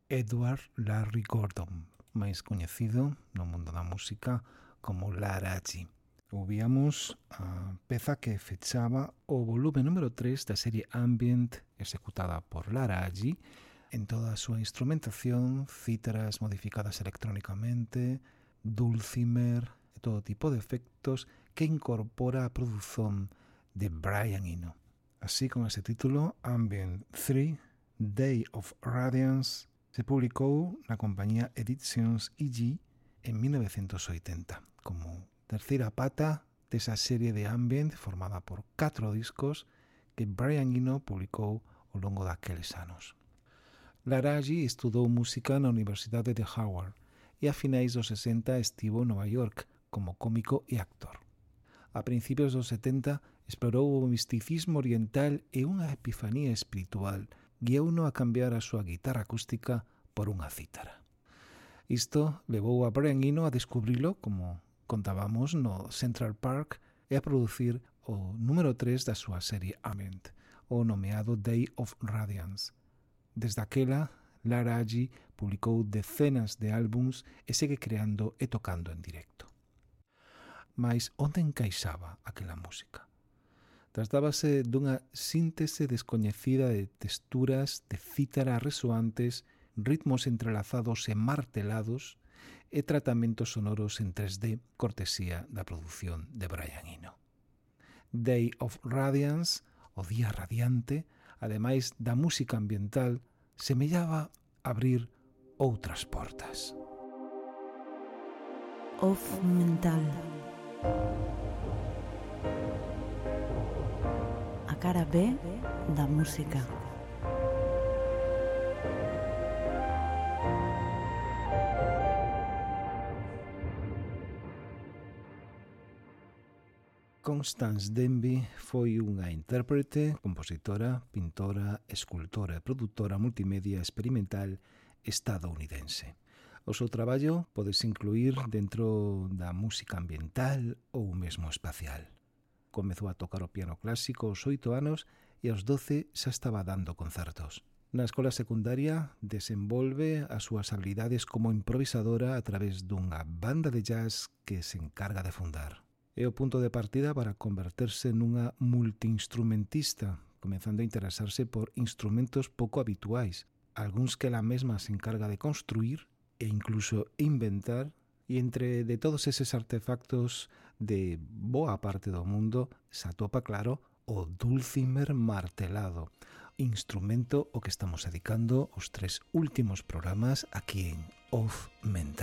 Edward Larry Gordon, máis coñecido no mundo da música como Laraji. Ouvíamos a peza que fechaba o volume número 3 da serie Ambient executada por Laraji en toda a súa instrumentación, cítaras modificadas electrónicamente, dulcimer e todo tipo de efectos que incorpora a produción de Brian Eno. Así, con ese título, Ambient 3, Day of Radiance, se publicou na compañía Editions EG en 1980 como terceira pata desa serie de Ambient formada por 4 discos que Brian Eno publicou ao longo daqueles anos. Laraji estudou música na Universidade de Howard e a finais dos 60 estivo en Nova York como cómico e actor. A principios dos 70 explorou o misticismo oriental e unha epifanía espiritual guiouno a cambiar a súa guitarra acústica por unha cítara. Isto levou a Brian Eno a descubrilo, como contábamos, no Central Park e a producir o número 3 da súa serie Ambient, o nomeado Day of Radiance. Desde aquela, Laraji publicou decenas de álbums e segue creando e tocando en directo. Mais onde encaixaba aquela música? Tratábase dunha síntese descoñecida de texturas de cítara resoantes, ritmos entrelazados e martelados e tratamentos sonoros en 3D, cortesía da produción de Brian Eno. Day of Radiance, o día radiante, ademais da música ambiental, semellaba abrir outras portas. Off mental. A cara B da música. Constance Denby foi unha intérprete, compositora, pintora, escultora e produtora multimedia experimental estadounidense. O seu traballo podese incluir dentro da música ambiental ou mesmo espacial. Comezou a tocar o piano clásico aos 8 anos e aos 12 xa estaba dando concertos. Na escola secundaria desenvolve as súas habilidades como improvisadora a través dunha banda de jazz que se encarga de fundar. É o punto de partida para converterse nunha multiinstrumentista, comezando a interesarse por instrumentos pouco habituais, algúns que ela mesma se encarga de construir e incluso inventar, e entre de todos eses artefactos de boa parte do mundo se atopa, claro, o dulcimer martelado, instrumento ao que estamos dedicando os 3 últimos programas aquí en Off Mental.